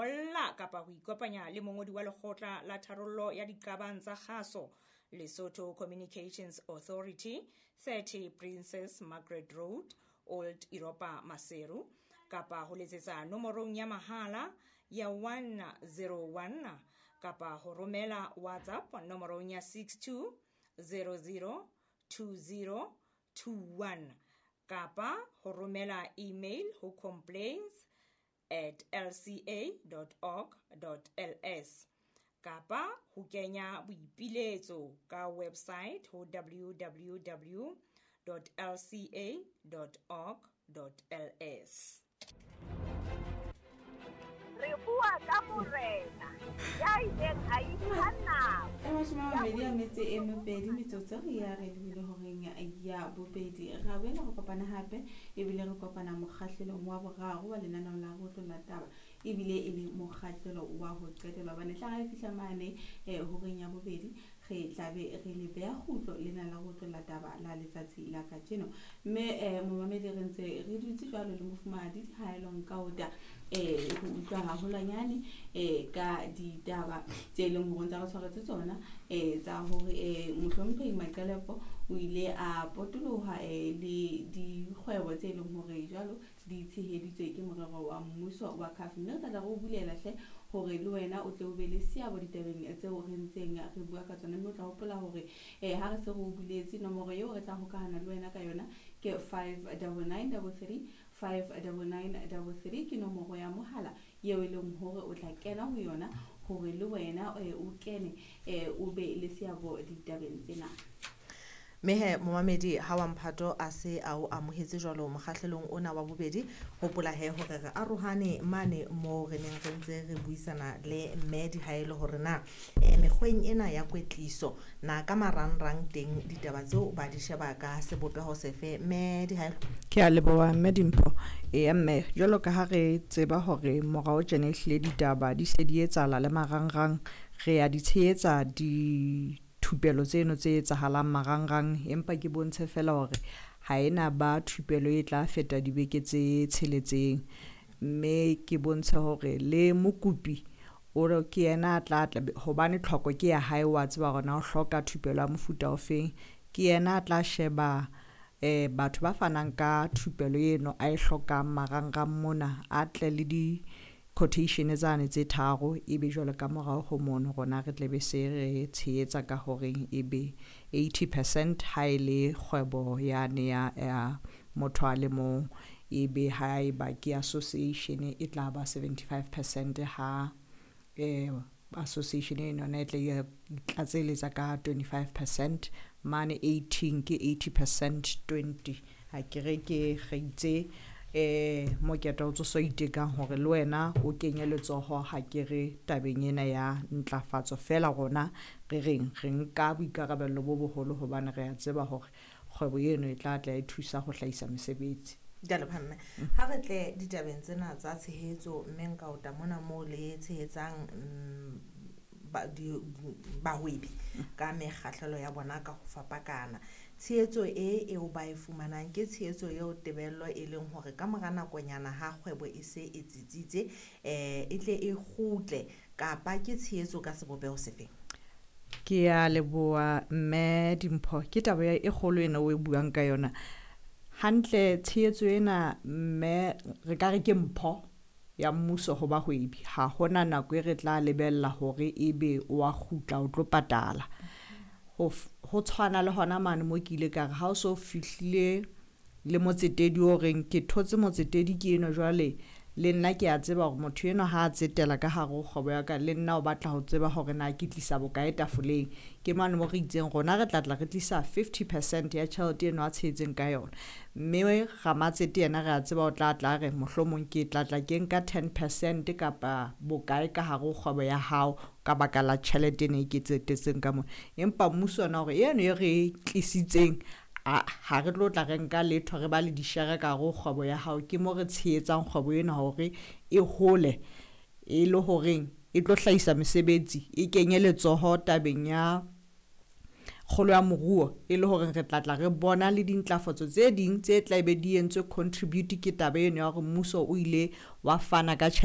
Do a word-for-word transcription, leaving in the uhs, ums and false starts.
ngolla kapa ho ikopanya le mongodi wa lekgotla la tharollo ya diqabang tsa kgaso, Lesotho Communications Authority, thirty Princess Margaret Road, Old Europa Maseru, kapa ho letsetsa nomorong ya mahala ya one zero one kapa ho romela WhatsApp nomorong ya six two zero zero two zero two one kapa ho romela email ho complaints at l c a dot org dot l s kapa ho kenya boipiletso ka website ho w w w dot l c a dot org dot l s. Re bua ka morena ya ileng a ipha nako. E mashome a mabedi a metso e mebedi metsotso ya re lebile horeng ya bobedi. Ra boela re kopana hape ebile re kopana mokgahlelong wa boraro wa lenaneo la Re Otlolla Taba, ebile e le mokgahlelo wa ho qetela hobane tla re fihla mane, eh, horeng ya bobedi re tla be re le beha kgutlo lena la Re Otlolla Taba la letsatsi la kajeno. Mme, eh, momamedi re ntse re dutse jwalo le mofumahadi Dihaelo Nkaota, eh, ho utlwa haholwanyane, eh, ka ditaba tse leng hore ntse re tshwaretse tsona, eh, tsa hore, eh, mohlomphehi Maqelepo o ile a potoloha, eh, le dikgwebo tse leng hore jwalo di tsheheditswe ke morero wa mmuso wa C A F. Mme re tla tla re o bulela hle hore le wena o tle o be le seabo ditabeng tseo re ntseng re bua ka tsona. Mme o tla hopola hore, eh, ha re se re o buletse nomoro eo re tla hokahana le wena ka yona ke five double nine double three, five double nine double three ke nomoro ya mohala eo e leng hore o tla kena ho yona hore le wena, eh, o kene, eh, o be le seabo ditabeng tsena. Mehe momamedi ha wa mphato a se a o amohetse jwalo mokgahlelong ona wa bobedi, hopola he hore re arohane mane moo re neng re ntse re buisana le mme Dihaelo hore na, eh, mekgweng ena ya kwetliso na ka marangrang teng ditaba tseo ba di sheba ka sebopeho sefe. Mme Dihaelo. Ke a leboha mme Dimpho. Eya mme, jwalo ka ha re tseba hore morao tjena ehlile ditaba di se di etsahala le marangrang, re a di tshehetsa di thupelo tseno tse etsahalang marangrang, empa ke bontshe fela hore ha ena ba thupelo e tla feta dibeke tse tsheletseng. Mme ke bontshe hore le mokopi o re ke yena a tla tla, hobane tlhoko ke ya hae, wa tseba hore na o hloka thupelo ya mofuta ofeng, ke yena a tla sheba, eh, batho ba fanang ka thupelo eno a e hlokang marangrang mona, a tle le di quotation tsane tse tharo, ebe jwale ka morao ho mono rona re tle be se re tshehetsa ka horeng ebe eighty percent ha e le kgwebo yane ya, ya motho a le mong, ebe ha eba ke association e tla ba seventy-five percent ha, eh, association eno yona e tla e tlatseletsa ka twenty-five percent, mane eighteen ke eighty percent twenty. Ha ke re ke re itse, eh, mokete o tso itekang hore le wena o kenye letsoho ha ke re tabeng ena ya ntlafatso. Feela rona re reng re nka boikarabello bo boholo hobane re a tseba hore kgwebo eno e tla tla e thusa ho hlahisa mesebetsi. Ke a leboha mme. Ha re tle ditabeng tsena tsa tshehetso, mme nka ota mona moo le tshehetsang, mm, ba, di, bahwebi ka mekgahlelo ya bona ka ho fapakana. Tshehetso e eo ba e fumanang ke tshehetso eo tebello e leng hore ka mora nakonyana ha kgwebo e se e tsitsitse, eh, e tle e kgutle, kapa ke tshehetso ka sebopeho sefeng? Ke a leboha mme Dimpho, ke taba e kgolo ena o e buang ka yona. Hantle tshehetso ena mme re ka re ke mpho ya mmuso ho bahwebi. Ha hona nako e re tla lebella hore ebe o a kgutla o tlo patala. Ho f-, ho tshwana le hona mane mo ke ile ka re ha o so fihlile le motsetedi o reng ke thotse motsetedi ke eno jwale, le nna ke a tseba hore motho enwa ha a tsetela ka hare ho kgwebo ya ka, le nna o batla ho tseba hore na ke tlisa bokae tafoleng. Ke mane mo re itseng rona re tla tla re tlisa fifty percent ya tjhelete eno a tshehetseng ka yona. Mme ramatsete yena re a tseba o tla tla re mohlomong ke tla tla ke nka ten percent kapa bokae ka hare ho kgwebo ya hao ka baka la tjhelete ena e ke tsetetseng ka mona. Empa mmuso ona hore eno e re tlisitseng, a, ha re tlo tla re nka letho, re ba le dishere ka hare ho kgwebo ya hao. Ke mo re tshehetsang kgwebo ena hore e hole, e le horeng e tlo hlahisa mesebetsi, e kenye letsoho tabeng ya kgolo ya moruo, e le hore re tla tla re bona le dintlafatso tse ding tse tla be di entswe contribute ke taba eno ya hore mmuso o ile wa fana ka tjhelete.